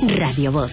Radio Voz.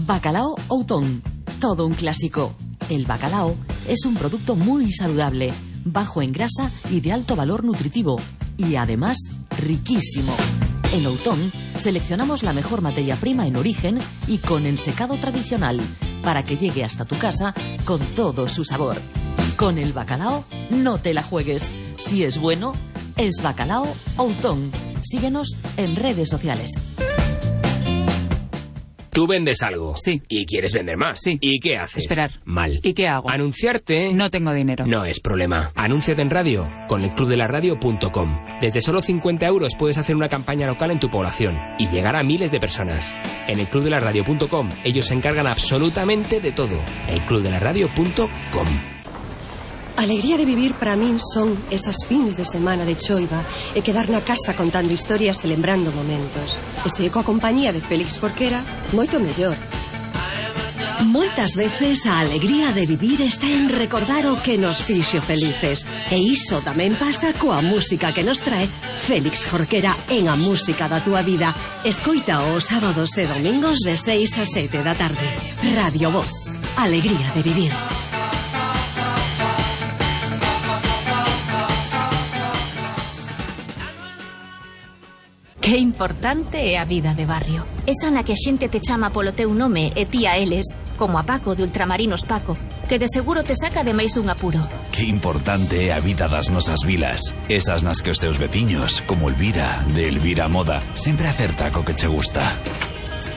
Bacalao Outón, todo un clásico. El bacalao es un producto muy saludable, bajo en grasa y de alto valor nutritivo, y además riquísimo. En Outón seleccionamos la mejor materia prima en origen y con ensecado tradicional, para que llegue hasta tu casa con todo su sabor. Con el bacalao no te la juegues. Si es bueno, es Bacalao Outón. Síguenos en redes sociales. Tú vendes algo. Sí. Y quieres vender más. Sí. ¿Y qué haces? Esperar. Mal. ¿Y qué hago? Anunciarte. No tengo dinero. No es problema. Anúnciate en radio con elclubdelaradio.com. Desde solo 50 euros puedes hacer una campaña local en tu población y llegar a miles de personas. En elclubdelaradio.com ellos se encargan absolutamente de todo. elclubdelaradio.com. Alegría de vivir para min son esas fins de semana de choiva e quedar na casa contando historias e lembrando momentos. E se coa compañía de Félix Jorquera, moito mellor. Moitas veces a alegría de vivir está en recordar o que nos fixo felices. E iso tamén pasa coa música que nos trae Félix Jorquera en A Música da Túa Vida. Escoita os sábados e domingos de 6 a 7 da tarde. Radio Voz. Alegría de vivir. Que importante é a vida de barrio. Esa na que a xente te chama polo teu nome e ti a eles, como a Paco de Ultramarinos Paco, que de seguro te saca de máis dun apuro. Que importante é a vida das nosas vilas. Esas nas que os teus veciños, como Elvira, de Elvira Moda, sempre acerta co que che gusta.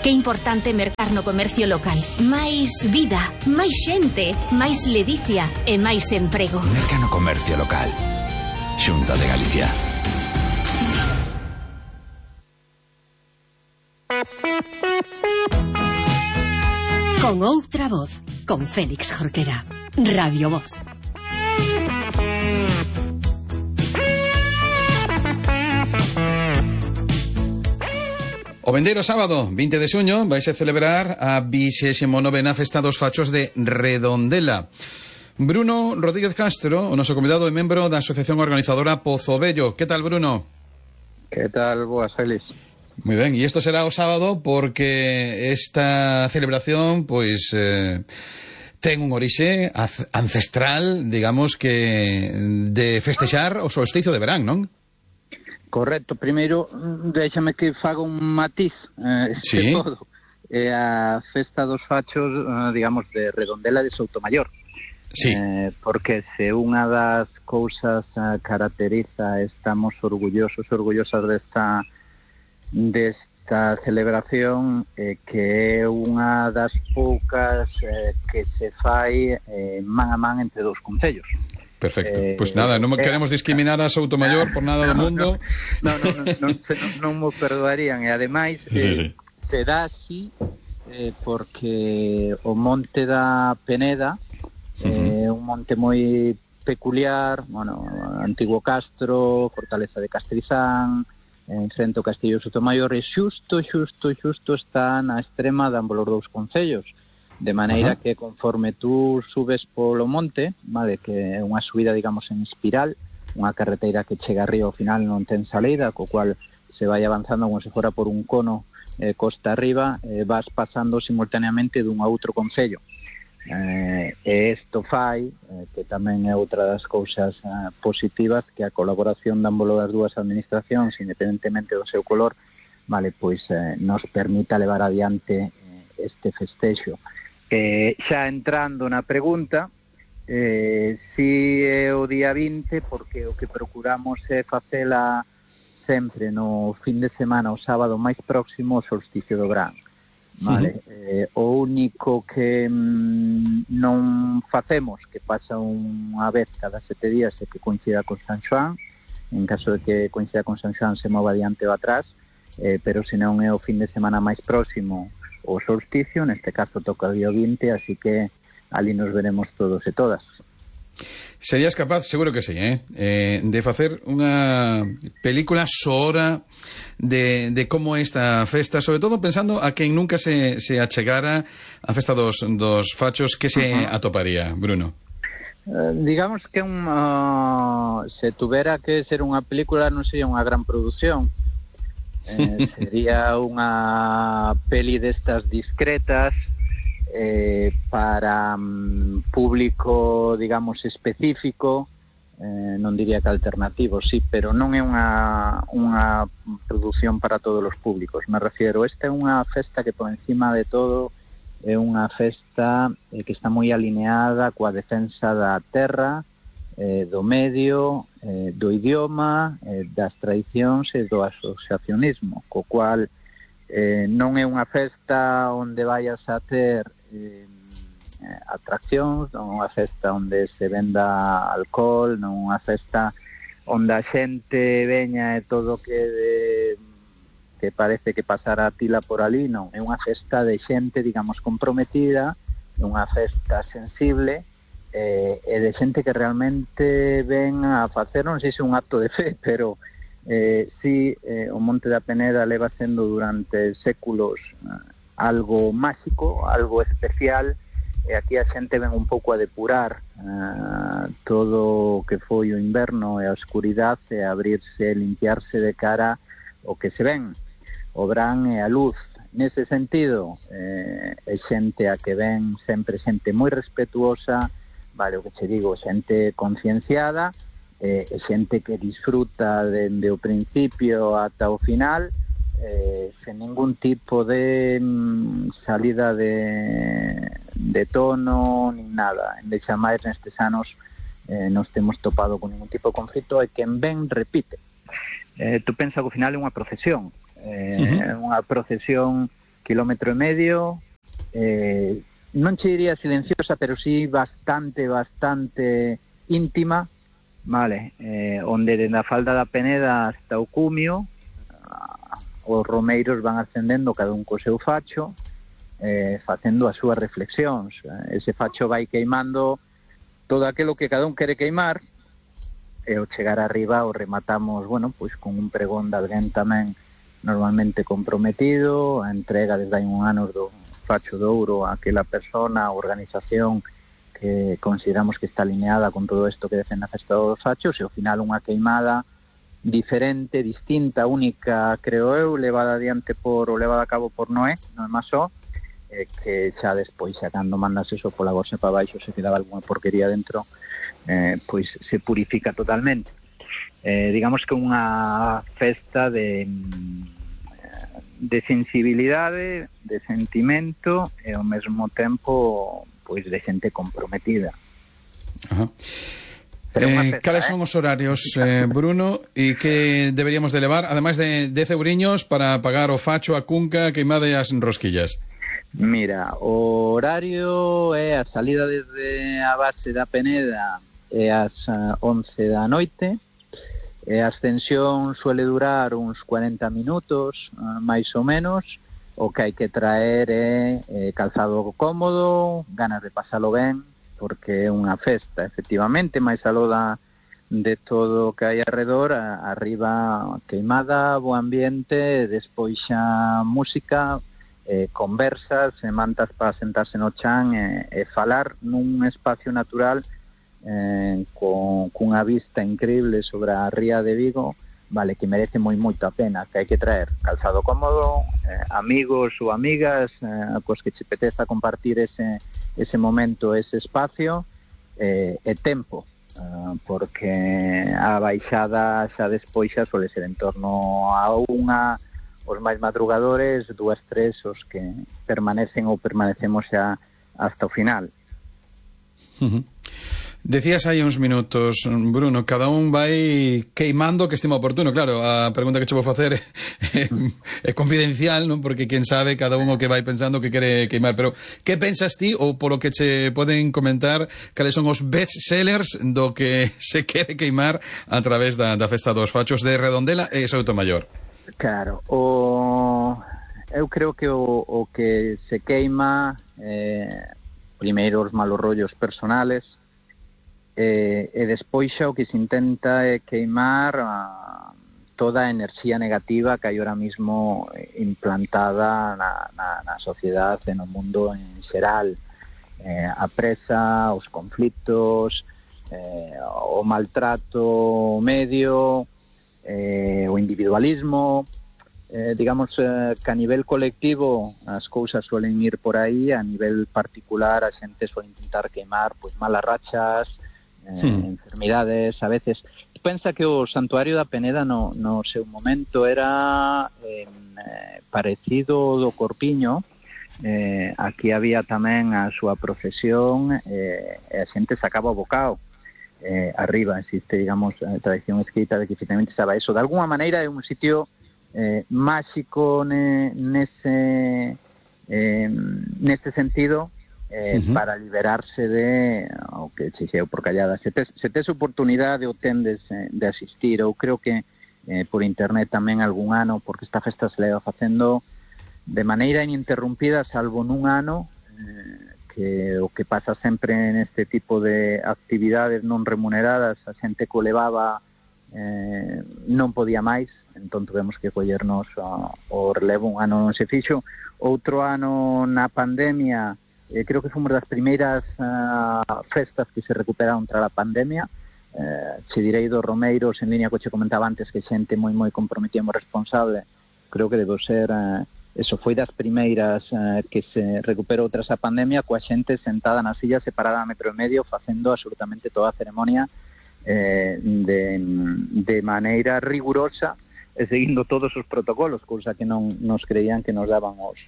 Que importante mercar no comercio local. Máis vida, máis xente, máis ledicia e máis emprego. Merca no comercio local. Xunta de Galicia. Con outra voz, con Félix Jorquera. Radio Voz. O vendeiro sábado, 20 de xuño, vais a celebrar a 29ª Festa dos Fachos de Redondela. Bruno Rodríguez Castro, o noso convidado e membro da asociación organizadora Pozo Bello. Que tal, Bruno? Que tal, boas, Félix? Moi ben, e isto será o sábado porque esta celebración, pois, ten un orixe ancestral, digamos que, de festexar o solsticio de verán, non? Correcto, primeiro, déxame que faga un matiz, sí. Todo. É a festa dos fachos, digamos, de Redondela de Soutomaior. Sí. Porque se unha das cousas caracteriza, estamos orgullosas desta celebración, que é unha das poucas que se fai man a man entre dous concellos. Perfecto. Pois nada, non queremos discriminar a Soutomaior por nada do mundo. Non mo perdoarían. E ademais sí. se dá así porque o monte da Peneda é un monte moi peculiar, bueno, antigo castro, fortaleza de Castrizán, en frente ao Castillo de Soutomaior, e xusto está na extrema de ambos os dous concellos, de maneira que conforme tú subes polo monte, vale, que é unha subida, digamos, en espiral, unha carreteira que chega arriba ao final non ten salida, co cual se vai avanzando como se fora por un cono costa arriba, vas pasando simultaneamente dun a outro concello. E isto fai, que tamén é outra das cousas positivas, que a colaboración de ambos as dúas administracións, independentemente do seu color, vale, pois nos permita levar adiante este festexo. Xa entrando na pregunta, si é o día 20, porque o que procuramos é facela sempre no fin de semana, o sábado máis próximo ao solsticio do verán. Vale, o único que non facemos, que pasa unha vez cada 7 días, é que coincida con San Xoán. En caso de que coincida con San Xoán, se mova adiante ou atrás, pero se non é o fin de semana máis próximo o solsticio, neste caso toca o día 20, así que ali nos veremos todos e todas. Serías capaz, seguro que sí, de facer unha película soora de como esta festa, sobre todo pensando a quen nunca se achegara a festa dos fachos, que se atoparía, Bruno? Digamos que se tuvera que ser unha película non sería unha gran produción. Sería unha peli destas discretas para público, digamos, específico, non diría que alternativo, sí, pero non é unha produción para todos os públicos. Me refiero, esta é unha festa que por encima de todo é unha festa que está moi alineada coa defensa da terra, do medio, do idioma, das tradicións e do asociacionismo, co cual non é unha festa onde vayas a ter atraccións, non é unha festa onde se venda alcohol, non é unha festa onde a xente veña e todo que parece que pasará a tila por ali, non, é unha festa de xente, digamos, comprometida, é unha festa sensible, e de xente que realmente ven a facer, non sei se un acto de fe, pero sí, o Monte da Peneda leva sendo durante séculos algo máxico, algo especial, e aquí a xente ven un pouco a depurar todo o que foi o inverno e a oscuridade, e a abrirse, limpiarse de cara o que se ven, o bran e a luz. Nese sentido, é xente a que ven sempre xente moi respetuosa, vale, o que che digo, xente concienciada, xente que disfruta dende o principio ata o final, sen ningún tipo de salida de tono, nin nada. En deixa máis nestes anos nos temos topado con ningún tipo de conflito, e quen ven repite. Tú pensa que ao final é unha procesión, unha procesión kilómetro e medio, non che diría silenciosa, pero sí bastante íntima, vale, onde dende a falda da Peneda hasta o cumio os romeiros van ascendendo cada un co seu facho, facendo as súas reflexións. Ese facho vai queimando todo aquilo que cada un quere queimar, e ao chegar arriba o rematamos, bueno, pois con un pregón de alguén tamén normalmente comprometido, a entrega desde hai un ano do facho de ouro a aquela persona, a organización que consideramos que está alineada con todo isto que decen na festa dos fachos, e ao final unha queimada diferente, distinta, única, creo eu, levada a cabo por Noé, non é máis só, que xa despois, xa cando mandas eso pola gorxa para baixo, se quedaba alguna porquería dentro, pois se purifica totalmente. Digamos que unha festa de sensibilidade, de sentimento, e ao mesmo tempo pois de xente comprometida. Ajá. Cales son os horarios, Bruno, e que deberíamos de levar, ademais de 10 euriños para pagar o facho, a cunca, queimada e as rosquillas? Mira, o horario é a salida desde a base da Peneda é ás 11 da noite, e a ascensión suele durar uns 40 minutos, máis ou menos. O que hai que traer é calzado cómodo, ganas de pasalo ben, porque é unha festa, efectivamente, máis aló de todo o que hai alrededor, arriba queimada, bo ambiente, despois xa música, conversas, mantas para sentarse no chan e falar nun espacio natural cunha vista increíble sobre a ría de Vigo, vale, que merece moito a pena. Que hai que traer calzado cómodo, amigos ou amigas cos que che apeteza compartir ese momento, ese espacio, e tempo, porque a baixada xa despois xa suele ser en torno a unha, os máis madrugadores, 2, 3 os que permanecen ou permanecemos xa hasta o final. Decías hai uns minutos, Bruno, cada un vai queimando que estima oportuno. Claro, a pregunta que che vou facer é confidencial, non? Porque quen sabe, cada un o que vai pensando que quere queimar. Pero que pensas ti, ou polo que che poden comentar, cales son os best sellers do que se quere queimar a través da Festa dos Fachos de Redondela e Soutomaior? Claro, eu creo que o que se queima primeiro os malos rollos personales, e despois xa o que se intenta é queimar toda a enerxía negativa que hai ahora mismo implantada na sociedade e no mundo en xeral, a presa, os conflitos, o maltrato medio, o individualismo. Digamos que a nivel colectivo as cousas suelen ir por aí, a nivel particular a xente suele intentar queimar pois malas rachas, enfermidades a veces. Pensa que o Santuario da Peneda no seu momento era parecido do Corpiño. Aquí había tamén a súa procesión, e a xente sacaba o bocao arriba. Existe, digamos, a tradición escrita de que efectivamente estaba eso. De alguna maneira é un sitio máxico nese sentido, para liberarse de o que chexeu por callada. Se tes oportunidade ou tendes de asistir, ou creo que por internet tamén algún ano, porque esta festa se leva facendo de maneira ininterrumpida, salvo nun ano, que o que pasa sempre neste tipo de actividades non remuneradas, a xente que o levaba non podía máis, entón tuvemos que collernos o relevo. Un ano non se fixo, outro ano na pandemia, creo que fomos das primeiras festas que se recuperaron tras a pandemia. Che direi dos Romeiros, en línea co che comentaba antes, que xente moi comprometida e moi responsable, creo que debo ser eso, foi das primeiras que se recuperou tras a pandemia, coa xente sentada na silla separada a 1,5 metro facendo absolutamente toda a ceremonia de maneira rigurosa e seguindo todos os protocolos, cousa que non nos creían que nos daban os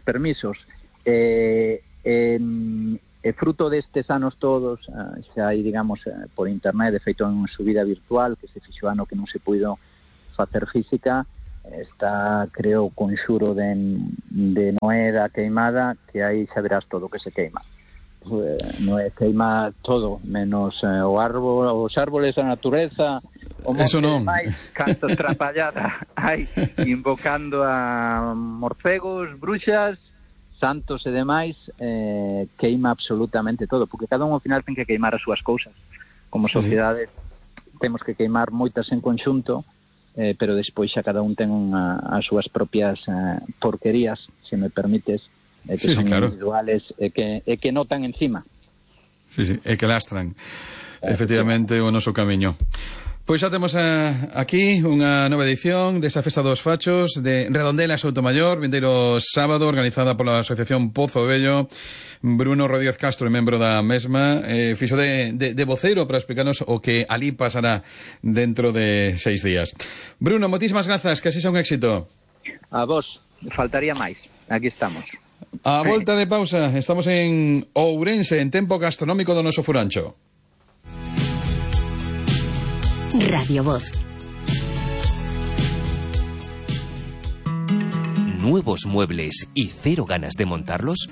permisos. Fruto destes anos todos, xa hai, digamos, por internet, de feito en subida virtual, que se fixo ano que non se puido facer física, está, creo, o conxuro de Noé da queimada, que aí xa verás todo o que se queima. Noé queima todo, menos os árboles, a natureza, o monte de máis, canto trapallada hai, invocando a morcegos, bruxas, santos e demais, queima absolutamente todo, porque cada un ao final ten que queimar as súas cousas. Como sociedade temos que queimar moitas en conxunto, pero despois xa cada un ten as súas propias porquerías, se me permites, que son individuales e que notan encima. E que lastran efectivamente o noso camiño. Pois xa temos aquí unha nova edición desa Festa dos Fachos de Redondela e Soutomaior, vindeiro sábado, organizada pola Asociación Pozo Vello. Bruno Rodríguez Castro, membro da mesma, fixo de voceiro para explicarnos o que ali pasará dentro de 6 días. Bruno, moitísimas grazas, que así sea un éxito. A vos, faltaría máis. Aquí estamos. A volta de pausa, estamos en Ourense, en tempo gastronómico do noso furancho. Radio Voz. ¿Nuevos muebles y cero ganas de montarlos?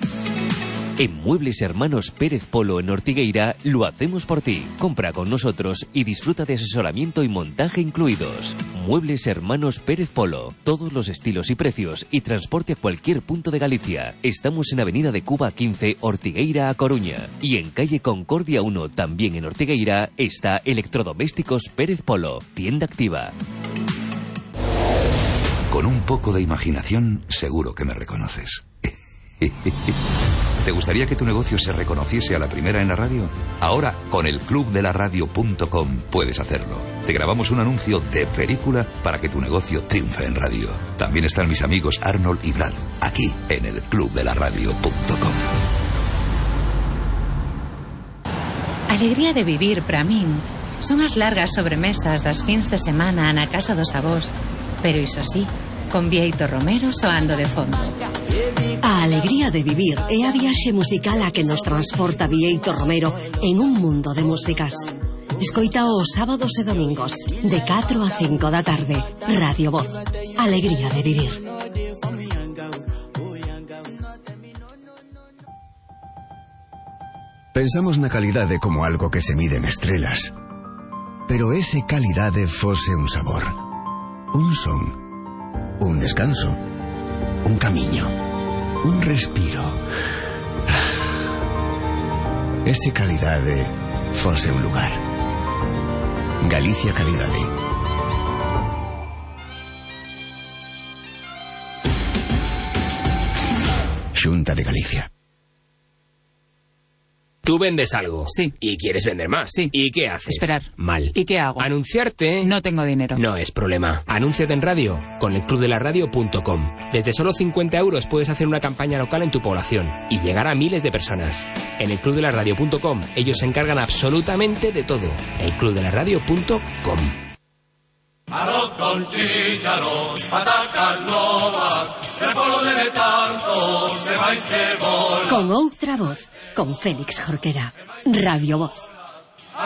En Muebles Hermanos Pérez Polo en Ortigueira lo hacemos por ti. Compra con nosotros y disfruta de asesoramiento y montaje incluidos. Muebles Hermanos Pérez Polo. Todos los estilos y precios y transporte a cualquier punto de Galicia. Estamos en Avenida de Cuba 15, Ortigueira a Coruña. Y en calle Concordia 1, también en Ortigueira, está Electrodomésticos Pérez Polo. Tienda activa. Con un poco de imaginación, seguro que me reconoces. ¿Te gustaría que tu negocio se reconociese a la primera en la radio? Ahora, con el clubdelaradio.com puedes hacerlo. Te grabamos un anuncio de película para que tu negocio triunfe en radio. También están mis amigos Arnold y Brad, aquí en el clubdelaradio.com. Alegría de vivir, para min, son as largas sobremesas das fins de semana na casa dos avós, pero iso sí, con Bieito Romero soando de fondo. A alegría de vivir é a viaxe musical a que nos transporta Bieito Romero en un mundo de músicas. Escoita os sábados e domingos de 4 a 5 da tarde. Radio Voz. Alegría de vivir. Pensamos na calidade como algo que se mide en estrelas. Pero ese calidade fose un sabor, un son, un descanso, un camiño, un respiro. Ese calidade fose un lugar. Galicia Calidade. Xunta de Galicia. Tú vendes algo. Sí. Y quieres vender más. Sí. ¿Y qué haces? Esperar. Mal. ¿Y qué hago? Anunciarte. No tengo dinero. No es problema. Anúnciate en radio con elclubdelaradio.com. Desde solo 50 euros puedes hacer una campaña local en tu población y llegar a miles de personas. En elclubdelaradio.com ellos se encargan absolutamente de todo. elclubdelaradio.com. Arroz con chícharos, patacas novas, el polo de Letanto, se va y se vol. Con outra voz, con Félix Jorquera, Radio Voz.